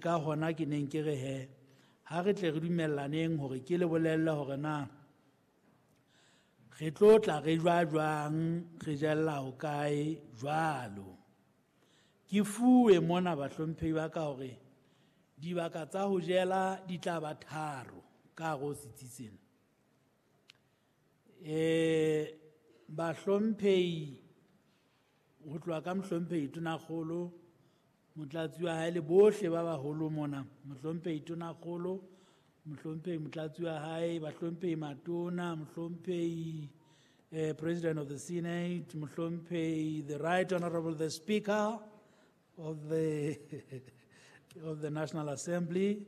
Ka hona ke neng ke re he, ha re tle re dumellaneng hore ke le bolelle hore na re tlo tla re jwa jwang, re jella hokae jwalo. Ke fuwe mona bahlomphehi ba ka hore dibaka tsa ho jela di tla ba tharo ka hare ho setsi sena. Bahlomphehi ho tloha ka mohlomphehi Tonakgolo, motlatsi wa hae le bohle ba baholo mona, mohlomphehi Tonakgolo, mohlomphehi motlatsi wa hae, bahlomphehi matona, mohlomphehi President of the Senate, mohlomphehi the Right Honorable the Speaker of the National Assembly,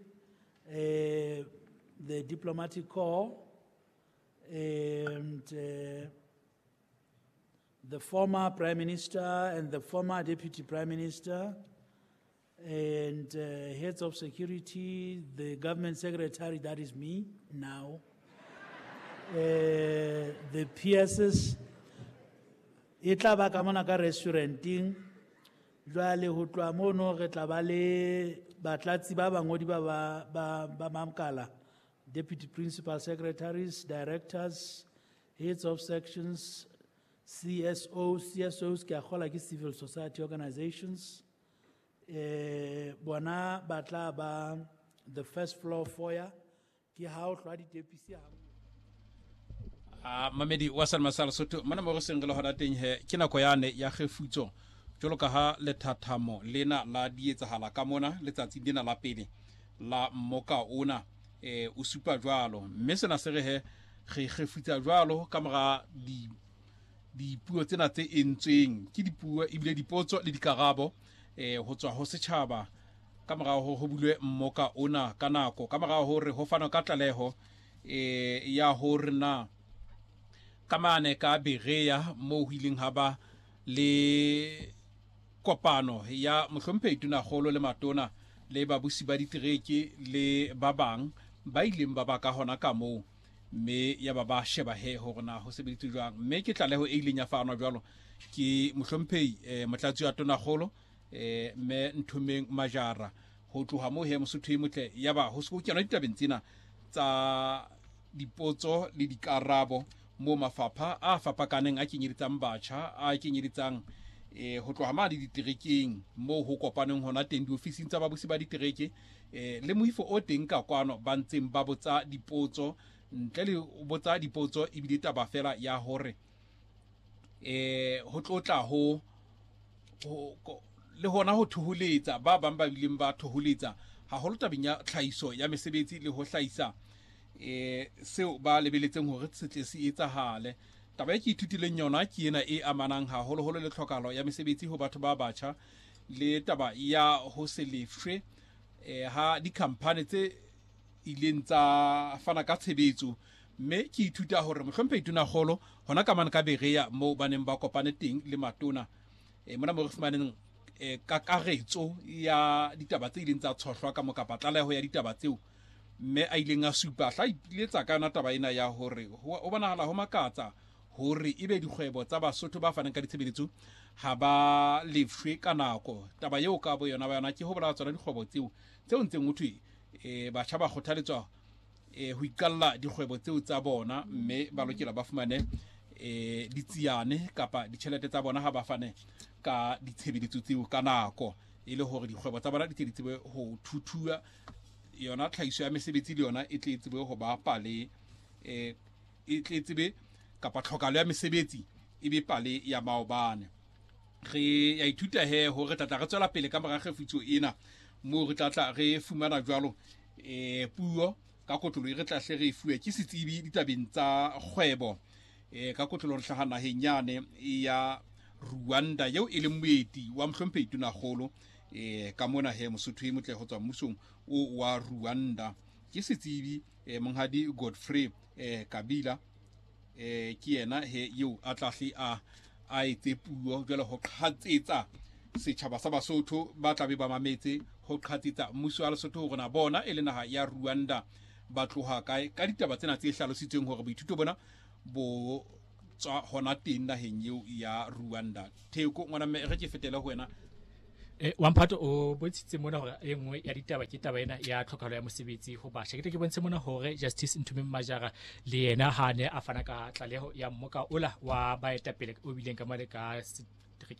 the Diplomatic Corps, and the former Prime Minister and the former Deputy Prime Minister, and heads of security, the government secretary, that is me now, the PSs, e tla ba ka mona ka restauranteng. Jwale ho tloha mono re tla ba le batlatsi ba bangodi ba makala, deputy principal secretaries, directors, heads of sections, CSO, CSOs ke a kgola ke civil society organizations. Bona ba tla ba the first floor foyer, ke ha o hlwa ditepisi ha. A mamedi wa Salma sa Lesotho mona mo re seng re le hona teng he, ke nako yane ya kgefutso jwalo ka ha lethathamo lena la di etsahala ka mona letsatsing lena la pele la mmoka ona o supa jwalo, mme sena se re he re kgefutsa jwalo ka mora di dipuo tsena tse entsweng ke dipuo ebile dipotso le dikarabo ho tswa ho setjhaba ka morao ho bulwe mmoka ona ka nako, ka morao hore ho fanwa ka tlaleho ya hore na ka mane ka Berea moo ho ileng ha ba le kopano ya mohlomphehi Tonakgolo le matona le babusi ba ditereke le ba bang ba ileng ba ba ka hona ka moo, mme ya ba ba sheba he hore na ho sebeditswe jwang. Mme ke tlaleho e ileng ya fanwa jwalo ke mohlomphehi motlatsi wa Tonakgolo mme Nthomeng Majara. Ho tloha moo he, Mosotho e motle, ya ba ho se ho kenwa ditabeng tsena tsa dipotso le dikarabo moo mafapha a fapakaneng a kenyeletsang batjha, a kenyeletsang ho tloha mane diterekeng moo ho kopaneng hona teng diofising tsa babusi ba ditereke le moifo o teng ka kwano ba ntseng ba botsa dipotso. Ntle le botsa dipotso ebile taba fela ya hore ho tlotla ho le hona ho thoholetsa ba bang ba bileng ba thoholetsa haholo tabeng ya tlhahiso ya mesebetsi le ho hlahisa seo ba lebeletseng hore se tle se etsahale. Taba e ke ithutileng yona ke ena e amanang haholoholo le tlhokahalo ya mesebetsi ho batho ba batjha le taba ya ho se lefshwe ha di-company tse ileng tsa fana ka tshebetso. Mme ke ithuta hore mohlomphehi Tonakgolo hona ka mane ka Berea moo ba neng ba kopane teng le matona mona mo re fumaneng kakaretso ya ditaba tse ileng tsa tshohlwa ka mo kapa tlaleho ya ditaba tseo, mme a ileng a supa hla ipiletsa ka yona taba ena ya hore ho bonahala ho makatsa hore ebe dikgwebo tsa Basotho ba fanang ka ditshebeletso ha ba lefshwe ka nako. Taba eo ka bo yona ba yona ke ho bolaya tsona dikgwebo tseo tseo ntseng ho thwe batjha ba kgothaletswa ho iqalla dikgwebo tseo tsa bona, mme ba lokela ba fumane ditsiane kapa ditjhelete tsa bona ha ba fane ka ditshebeletso tseo ka nako, e le hore dikgwebo tsa bona di tle di tsebe ho thuthua yona tlhahiso ya mesebetsi le yona e tle e tsebe ho ba pale e tle e tsebe kapa tlhokalo ya mesebetsi e be pale ya maobane. Re ya ithuta he hore tlatla re tswela pele ka mora kgefutso ena moo re tlatla re fumana jwalo puo ka kotlolo e re tla hle re e fuwe ke setsebi ditabeng tsa kgwebo ka kotlolo re hlaha naheng yane ya Rwanda eo e leng moeti wa mohlomphehi Tonakgolo ka mona he, Mosotho e motle, ho tswa mmusong o wa Rwanda, ke setsebi monghadi Godfrey Kabila. Ke yena he eo a tla hle a etse puo jwale ho qhatsetsa setjhaba sa Basotho ba tlabe ba mametse, ho qhatsetsa mmuso wa Lesotho hore na bona e le naha ya Rwanda ba tloha kae ka ditaba tsena tse hlalositsweng hore boithuto bona bo tswa hona teng naheng eo ya Rwanda. Theko ngwana mme, re ke fetele ho wena. Wamphato o bontshitse mona hore e nngwe ya ditaba ke taba ena ya tlhokahalo ya mosebetsi ho batjha. Ke tle ke bontshe mona hore Justice Nthumeng Majara le yena ha ne a fana ka tlaleho ya mmoka ola wa baetapele o bileng ka mane ka